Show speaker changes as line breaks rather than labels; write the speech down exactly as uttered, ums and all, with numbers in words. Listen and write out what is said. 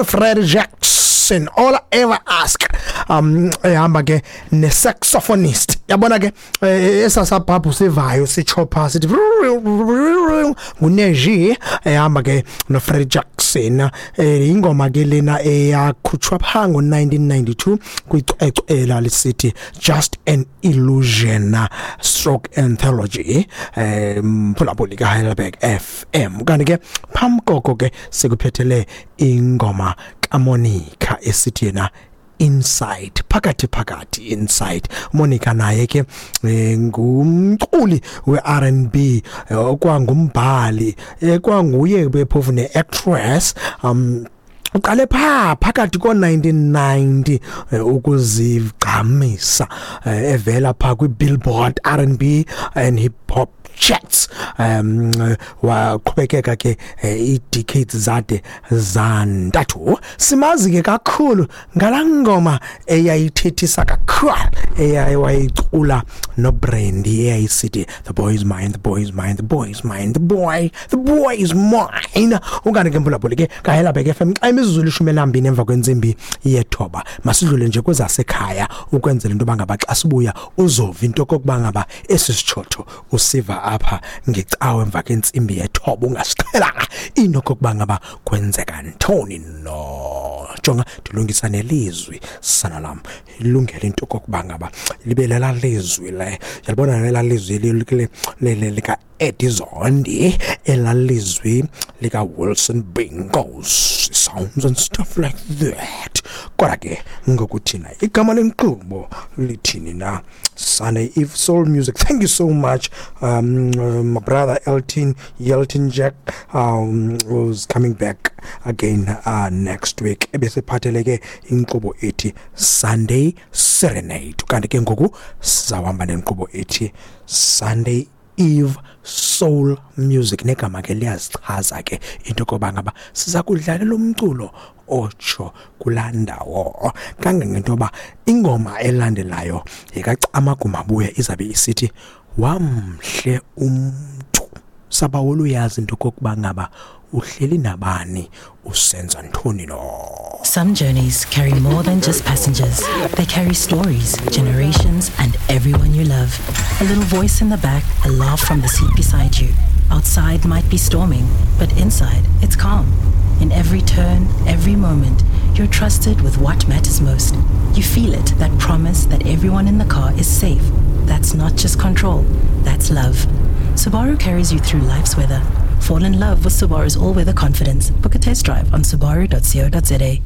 Freddie Jackson, "All I Ever Ask", um ehamba ke ne-saxophonist. Yabona ke, eh, esasabhabhu sivayo sichopha sithi nguNajee, ehamba ke noFreddie Jackson. eh ingoma ke lena eyakhutshwa pha ngo-nineteen ninety-two kwicwecwe elisithi Just an Illusion stroke Anthology. eh mphulaphuli ka Heidelberg F M, kanti ke phambi koko ke sikuphethele ingoma kaMonica esithi yena "Inside", phakathi phakathi "Inside". Monica naye ke eh, ngumculi we-R and B, eh, okwangumbhali, ekwanguye bephofu ne-actress. um uqale pha phakathi ko-nineteen ninety eh, ukuzigqamisa, eh, evela pha kwi-Billboard R and B and hip hop charts. um waqhubekeka ke eh, ii-decades zade zantathu. Simazi ke kakhulu ngalaa ngoma eyayithethisa kakhulu eyayicula noBrandy, eyayisithi "The boy is mine, the boy is mine, the boy is mine, the boy the boy is mine". Ukanti ke, mphulaphuli ke kaHelabek F M, xa imizuzu lishumi elambini emva kwentsimbi yethoba, masidlule nje kwezasekhaya ukwenzela into yoba ngaba xa sibuya uzova into okokuba ngaba esi sitshotho usiva apha ngecawe emva kwentsimbi yethoba ungasiqhelanga into okokuba ngaba kwenzeka ntoni. No jonga, ndilungisa nelizwi, sana lam, ilungele into okokuba ngaba libe lela lizwi le, yalibona lela lizwi lika Eddie Zondi, elalizwi lika Wilson Bingos sounds and stuff like that. Kodwa ke ngokuthina igama lenkqubo lithini na? Sunday Eve Soul Music. Thank you so much, um, uh, my brother Elton Yelton Jack, um who's coming back again uh, next week, ebesephathele ke inkqubo ethi Sunday Serenade. Kanti ke ngoku sizawuhamba nenkqubo ethi Sunday Eve Soul Music, negama ke liyazichaza ke into koba ngaba siza kudlalela umculo otsho kulaa ndawo, kangangento yoba ingoma elandelayo yekaCamagu Mabuya izabe isithi "Wamhle Umntu". Sabawula uyazi into kokuba ngaba uhleli nabani, usenza ntoni no.
Some journeys carry more than just passengers. They carry stories, generations, and everyone you love. A little voice in the back, a laugh from the seat beside you. Outside might be storming, but inside it's calm. In every turn, every moment, you're trusted with what matters most. You feel it, that promise that everyone in the car is safe. That's not just control, that's love. Subaru carries you through life's weather. Fall in love with Subaru's all weather confidence. Book a test drive on subaru dot co dot za.